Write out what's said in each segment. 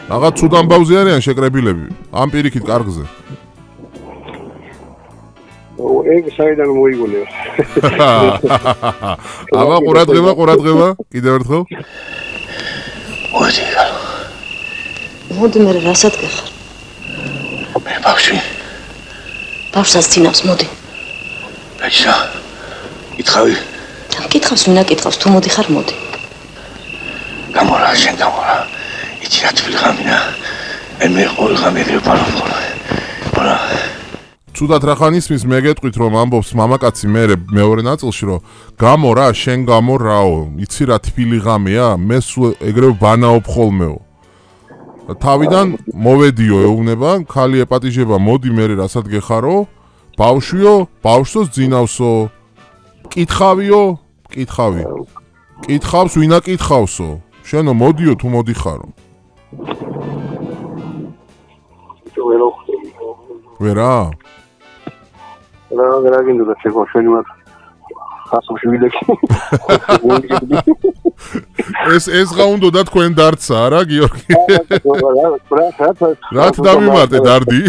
Რაღაც ცუდ ამბავზე არიან შეკრებილები. ამ პირიქით კარგზე. ეგ საიდან მოიგონე. აბა ყურადღება, კიდევ ერთხელ. მოდი მე რასაც გეხარ. მე ბავშვი. ბავშვს წინავს მოდი. ბეჭდა. იკითხავი. კითხავს ვინა კითხავს თუ მოდი ხარ მოდი. გამორა შენ გამორა. იცი რა თვლი ღამინა. მე ყოველ ღამე ვიყავ. ბოლა. ცუდად რახან ისმის მე გეტყვით რომ ამბობს მამაკაცი მე მეორე ნაწილში რომ გამო რა შენ გამო რაო იცი რა თბილი ღამეა მე სულ ეგრევე ბანაობ ხოლმეო თავიდან მოვედიო ეუბნება ქალი ეპატიჟება მოდი მე რასაც გეხარო ბავშვიო ბავშვს ძინავსო კითხავიო კითხავი კითხავს ვინა კითხავსო შენო მოდიო თუ მოდიხარო ვერა რა გინდა შეგო შენი მათ ხასოში ვიდექი ეს რა უნდა თქვენ დარცა რა გიორგი რა დავიმარტე დარდი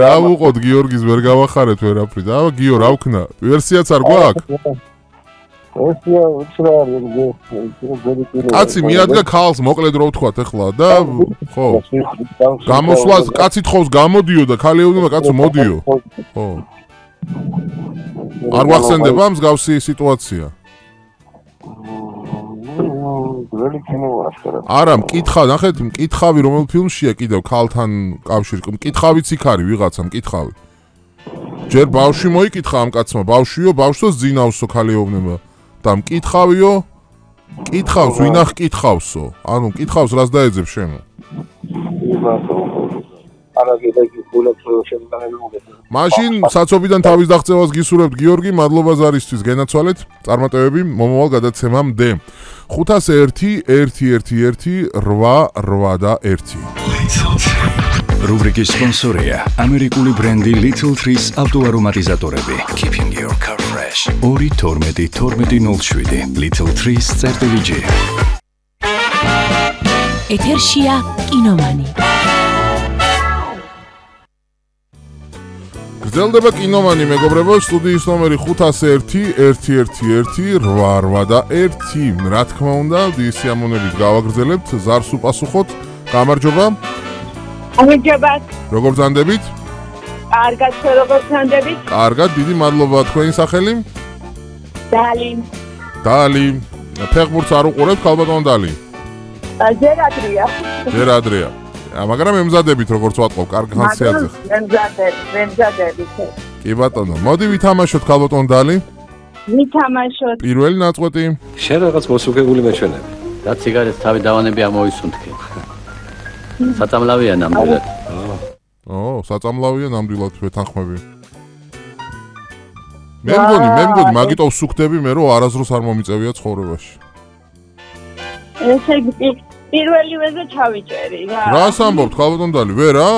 რა უყოთ გიორგის ვერ გავახარეთ ვერაფრით აბა გიო რა ვქნა ვერსიაც არ გვაქვს კაცი მიადგა ქალს მოკლედ რო ვთქვათ ახლა და ხო გამოსვლას კაცი თხოვს გამოდიო და ქალი ეუბნება კაცო მოდიო ხო არ ვახსენდება მსგავსი სიტუაცია არა მკითხავ ნახეთ მკითხავი რომელ ფილმშია კიდევ ქალთან კავშირი მკითხავიც იქ არის ვიღაცა მკითხავი ჯერ ბავშვი მოიკითხა ამ კაცმა ბავშვიო ბავშვს ძინავსო ქალი ეუბნება და მკითხავიო კითხავს ვინა ხკითხავსო ანუ მკითხავს რას დაეძებ შენ მაშინ საცობიდან თავის დაღწევას გისურვებთ გიორგი მადლობა ზარისთვის გენაცვალეთ წარმატებები მომავალ გადაცემამდე 501-111-881 რუბრიკის სპონსორია ამერიკული ბრენდი Little Trees ავტოარომატიზატორები Keeping your car fresh 2-12-12-07 Little Trees CG ეთერშია კინომანი გრძელდება კინომანი მეგობრებო სტუდიის ნომერი 501-111-881 რა თქმა უნდა დისიამონებით გავაგრძელებთ ზარს უპასუხოთ გამარჯობა გამარჯობათ როგორ ბრძანდებით კარგად როგორ ბრძანდებით კარგად დიდი მადლობა თქვენი სახელი დალი ფეხბურთს არ უყურებთ ქალბატონ დალი ჯერ ადრეა მაგრამ ემზადებით როგორც ვატყობ კარგი ხანსიათზე ემზადებით კი ბატონო მოდი ვითამაშოთ ქალბატონ დალი ვითამაშოთ პირველი ნაწყვეტი შენ რაღაც მოსუქებული მეჩვენები და ციგარეთს თავი დავანები ამოისუნთქი საწამლავია ნამდვილად საწამლავია ნამდვილად ვეთანხმები მე მგონი მაგიტო ვსუქდები მე რომ არასდროს არ მომიწევია ცხოვრებაში ესე იგი პირველივეზე ჩავიჭერი რა რას ამბობთ ქალბატონ დალი ვერა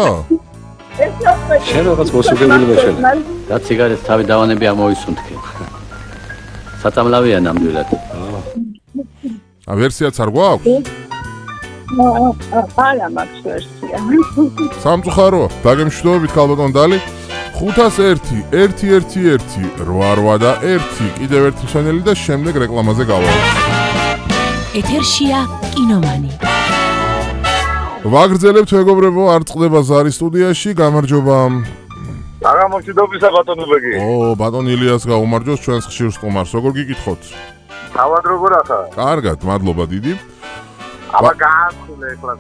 შენ რაღაც მოსუქებული მეჩვენები და ციგარეთს თავი დავანები ამოისუნთქი საწამლავია ნამდვილად ვერსიაც არ გვაქვს არა მაქვს ვერსია სამწუხაროა დაგემშვიდობებით ქალბატონ დალი 501-111-881 კიდევ ერთი ჩანელი და შემდეგ რეკლამაზე გავალთ ეთერშია კინომანი ვაგრძელებთ მეგობრებო არ წყდება ზარის სტუდიაში გამარჯობა გამარჯობისა ბატონო ბეგი ბატონ ილიას გაუმარჯოს ჩვენს ხშირ სტუმარს როგორ გიკითხოთ თავად როგორ ახლა კარგად მადლობა დიდი აბა გააცხულე ეხლა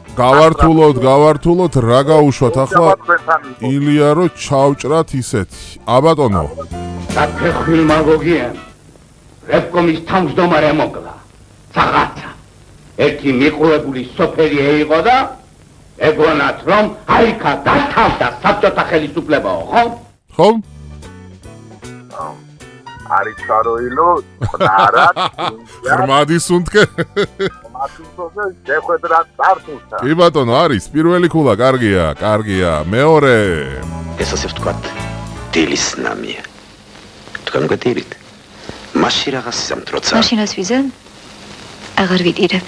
გავართულოთ რა გაუშვათ ახლა ილია რო ჩავჭრათ ისეთი აბატონო საფეხილმა გოგიან რევკომის თავმჯდომარე მოკლა საღაცა ერთი მიყურებული სოფელი იყო და ეგონათ რომ აიქა დათავდა საბჭოთა ხელისუფლებაო ხო არის ჩაროილო არა ხმადი სუნთქე კი ბატონო არის პირველი ქულა კარგია მეორე ეს ასე ვთქვათ დილის ნამია თქვენ გეტირით მაშინ რაღაც სამტროცა მაშინას ვიზან აღარ ვიტირებ